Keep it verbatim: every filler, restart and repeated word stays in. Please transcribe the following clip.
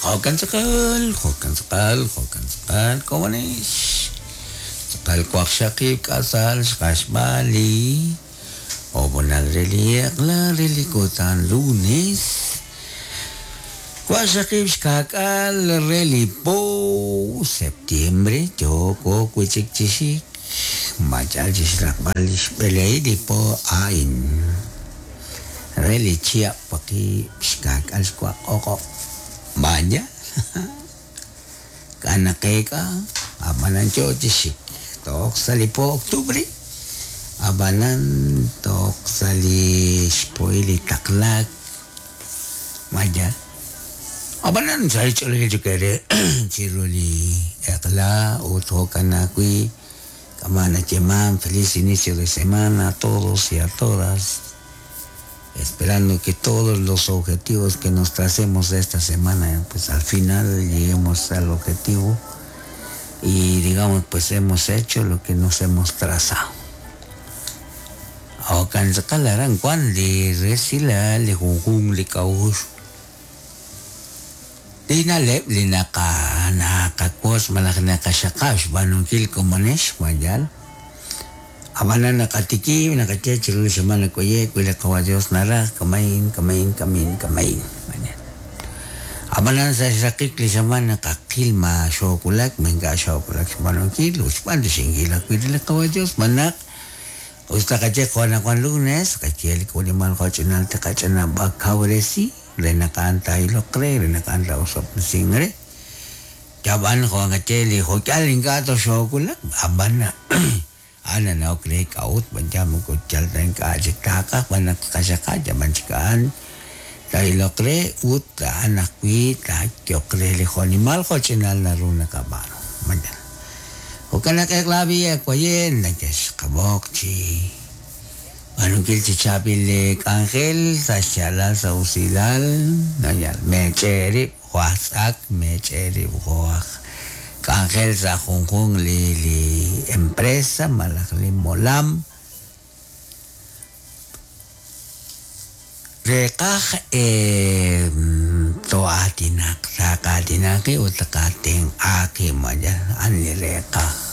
Jo'kan tz'aqal, jo'kan tz'aqal, jo'kan tz'aqal, komonix. Tz'aqal waqxaqib' k'asal xqaxb'al li ob'onal re li eq'la re li kutan lunes. Waqxaqib' xka'k'aal re li po septiembre yooko wi'chik chi xik machal chi xraqb'al li xb'elej li po a'in. Re li chihab' waqib' xka'k'aal xwaq o'q'ob'. Vaya. K'anaqeek'a ab'anan yo chi xik toq sa' li po octubre ab'anan toq sa' li xpohil li taqlaak vaya. Ab'anan sa' xch'oolil chikere chiru li eq'la ut jo'kan ajwi' kama nayeeman feliz inicio de semana a todos y a todas, esperando que todos los objetivos que nos tracemos esta semana, pues al final lleguemos al objetivo y digamos pues hemos hecho lo que nos hemos trazado. Jo'kan tz'aqal aran wan li resilal li junjunq li k'a'uxl li na'leb' li naqa naqawotz malaj naqaxaqab' xb'aanunkil komonix mayal. Ab'anan naqatikib' naqaye chiru li semana k'oye' wi li qawa Dios naraj kamain kamain kamain kamain. Ab'anan sa' xraqik li semana qaqil ma xoowulak ma ink'a' xoowulak xb'aanunkil ut xb'aan rixinkil ajwi' li qawa Dios manaq usta qaye qanaqwan lunes qaye li k'ulimal jo'ch'inal tiqach'inab'a kawresi re naq a'an taa'iloq re re naq a'an taa'osob'tesin re. Yab'an jo' qaye li jo'k'al ink'a' toxoowulak ab'an a'an nanawok re k'a'ut b'an moko yal ta ink'a' chik taaqaj b'an naq qaxaqab' yab'an chik a'an taa'iloq re ut a'an ajwi' taayoq re li jo'nimal jo'ch'inal naru naqab'aanu. Mañana. Jo'kan naq eq'la b'i waye nakexqab'oq chi b'aanunkil chi chaab'il li k'anjel sa' xyaalal sa' usilal nayal meech'eerib' jo' aj tz'ak meech'eerib' jo' aj k'anjel sa' junjunq li li empresa malaj li molam reqaj to'aatinaq taqaatinaqi ut taqaatenq'aaqi mayal a'an li reqaj.